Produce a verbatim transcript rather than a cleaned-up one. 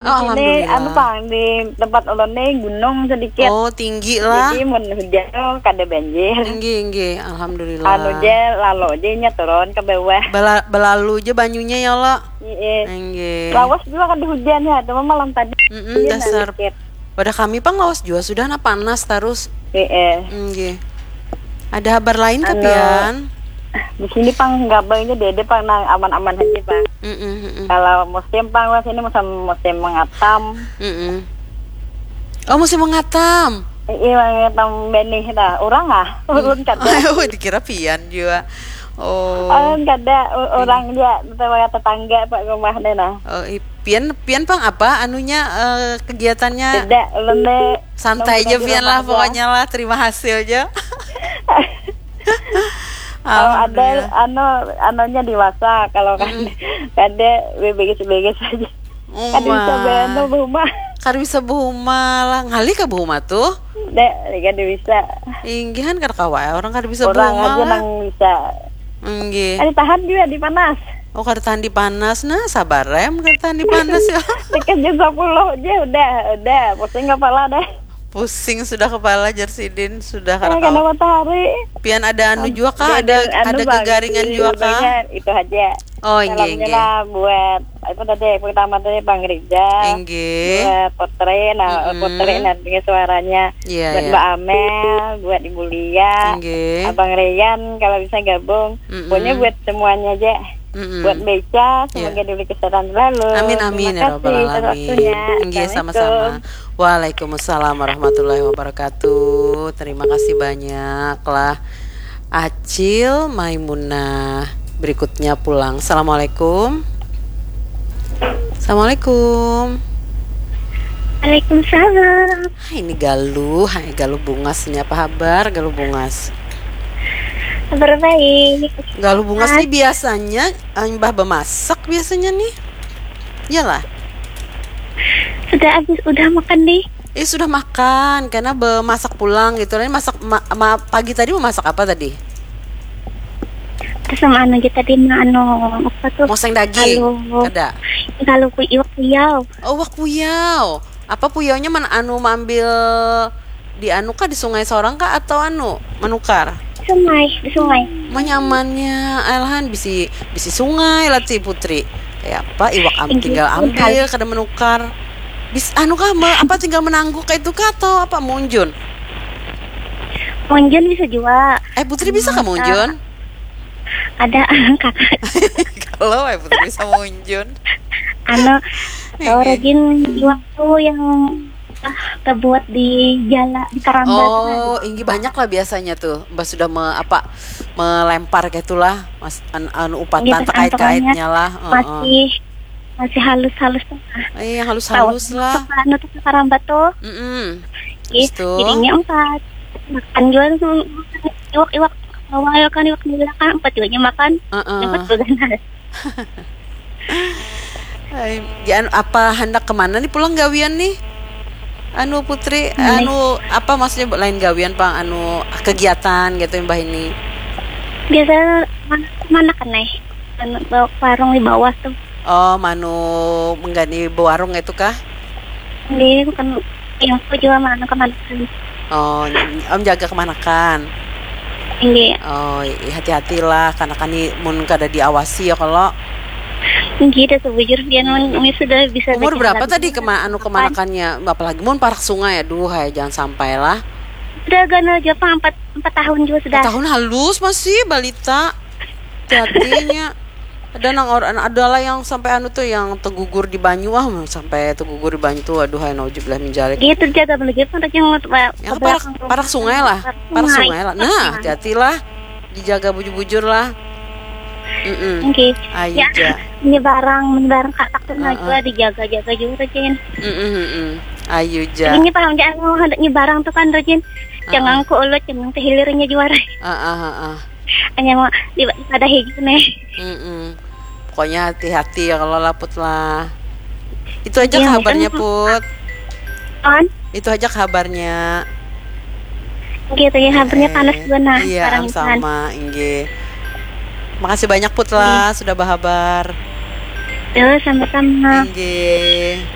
Oh, alhamdulillah. Anu pang, di tempat ulun ni gunung sedikit. Oh, tinggi lah. Jadi mun hujan tu kada banjir. Inggih, inggih, alhamdulillah. Anu ja, lalo ja inya turun ke bawah. Bela-, belalu ja banyunya ya, lo. Iya. Inggih. Lawas juga kada hujan ya, cuma malam tadi. Mm-mm, dasar. Sedikit. Wadah kami pang lawas jua sudah, nah, panas tarus. Iya. Inggih. Ada habar lain kah, anu, pian? Di sini pang gabangnya dede pang nang aman-aman aja pang. Mm-mm, mm-mm. Kalau musim pang, wah, sini musim, musim mengatam. Mm-mm. Oh, musim mengatam. Iya, mengatam benih dah. Orang ah, ulun kada. Oh, dikira pian jua. Oh. Ulun kada, u-, orang jua, tetangga, tetangga pak rumah deh nah. Oh, i-, pian, pian pang apa anunya, eh, kegiatannya? Tidak, ulun deh. Santai aja pian lah, pokoknya lah, terima hasil aja. Kalau ada, alhamdulillah, anu, anunya dewasa, kalau kan, mm-mm, kada, bebegis-begis aja. Oh, kan bisa, wah, beanu berumah. Kada bisa berumah lah, ngalih kah berumah tuh? Dek, kada bisa. Inggihan kada kawa, orang kada bisa berumah aja lah. Orang nang bisa. Inggih. Kada tahan juga di panas. Oh, kada tahan di panas, nah, sabar em, kada tahan di panas ya. Tiket jam sepuluh aja, udah, udah, pusing kepala dah. Pusing sudah kepala, jar sidin, sudah kada kawa. Eh, kena matahari. Pian ada anu jua kah? Ada, anu, ada gegaringan jua kah? Itu aja. Oh, inggih, inggih. Salamnya lah buat, apa tadi, pertama tadi Bang Rizal. Inggih. Buat Putri, nah, mm-mm, Putri, nah, dengar suaranya. Iya, iya. Buat Mbak Amel, buat Ibu Lia, inggih, Abang Rian, kalau bisa gabung. Mm-mm. Pokoknya buat semuanya aja. Mm-mm. Buat Beca, iya, semoga diberi kesehatan selalu. Amin, amin, ya rabbal alamin. Terima kasih atas waktunya. Inggih, sama-sama. Assalamualaikum. Waalaikumsalam warahmatullahi wabarakatuh. Terima kasih banyak lah, Acil Maimunah. Berikutnya pulang. Assalamualaikum. Assalamualaikum. Waalaikumsalam. Hai, ini Galuh. Hai, Galuh Bungas. Ini apa habar, Galuh Bungas? Kabar baik. Galuh Bungas nih biasanya, eh, imbah bemasak biasanya nih. Iyalah. Sudah habis, udah makan nih. Eh, sudah makan, karena bemasak pulang gitu. Tadi masak, ma-, ma-, pagi tadi memasak apa tadi? Terus sama anu aja tadi, ma-, anu, apa tuh? Moseng daging? Kalau, kada? Kalau ku-, iwak puyau. Oh, iwak puyau. Apa puyaunya man-, anu, maambil di anu kah, di sungai sorang kah, atau anu, manukar? Di sungai, di sungai. Manyamannya, alahan bisi, bisi sungai lah ti Putri. Kayak apa, iwak am-, tinggal ambil, kada manukar. Bis-, anu kah, me-, apa, tinggal menangguk kayak itu kah, atau apa, munjun? Munjun bisa juga. Eh, Putri bisa kah munjun? Ada, kakak. Kalau, eh, Putri bisa munjun. Anu, tahu rajin waktu yang, ah, kebuat di jala, di karamba tuh kan. Oh, inggih banyak lah biasanya tuh. Mbah sudah me-, apa, melempar kayak itulah, Mas, an-, anu, upatan terkait-kaitnya lah. Heeh. Masih, masih halus-halus tuh. Eh, yang halus-halus lah. Anu tuh, karamba tuh. Mm-mm. Ih, jadinya empat. Makan juga tuh, iwak-iwak. Awal kan iwak nila kan, empat juga makan. Heeh. Dapat beganas. Hai, ya, anu, apa hendak kemana nih pulang gawian nih? Anu, Putri, anu, apa maksudnya, lain gawian pang, anu, kegiatan gitu, Mbah ini? Biasa mana, mana kan, eh? Anu, bawa warung di bawah tuh. Oh, manu menggani bewarung itu kah? Ini bukan yang aku juga mana kemana kan. Oh, om jaga kemanakan? Inggih. Oh, i-, hati-hatilah, karena kan ni mun kada diawasi ya kalau. Inggih, dah sebujur pian mun, hmm, umi sudah bisa. Umur berapa tadi kema-, anu, kemanakannya? Apalagi mun parak sungai, aduh, hai, jangan sampai lah. Sudah ganal Jepang empat, empat tahun juga sudah. Empat tahun halus masih balita. Hati-hatinya. Ada nang or-, ada lah yang sampai anu tuh, yang tegugur di banyu, ah, sampai tegugur di banyu tuh, aduh, hai, naujubillah min zalik. Gitu, jaga bener gitu, ada yang, yang parak, parak sungai lah, parak sungai lah. Nah, hati-hatilah, dijaga bujur-bujur lah. Mm-mm. Oke. Ayo, ya, ja. Ini barang, ini barang katak tuh, nah, juga dijaga-jaga juga, Jin. Mm-mm, mm-mm. Ayo, ja. Ini paham, ja, anu, hendak nyebarang tuh kan, Jin. Jangan ku ulut, jangan kehilirnya juara. Ah, ah, ah, ah. Hanya mau di, pada hijau nih. Mm-mm. Pokoknya hati-hati ya kalau laput lah. Itu aja kabarnya, Put. On? Itu aja kabarnya. Gitu ya, kabarnya panas juga nah. Iya, sekarang sama, inggih. Makasih banyak, Put, lah, sudah berhabar. Yo, sama-sama. Inggih.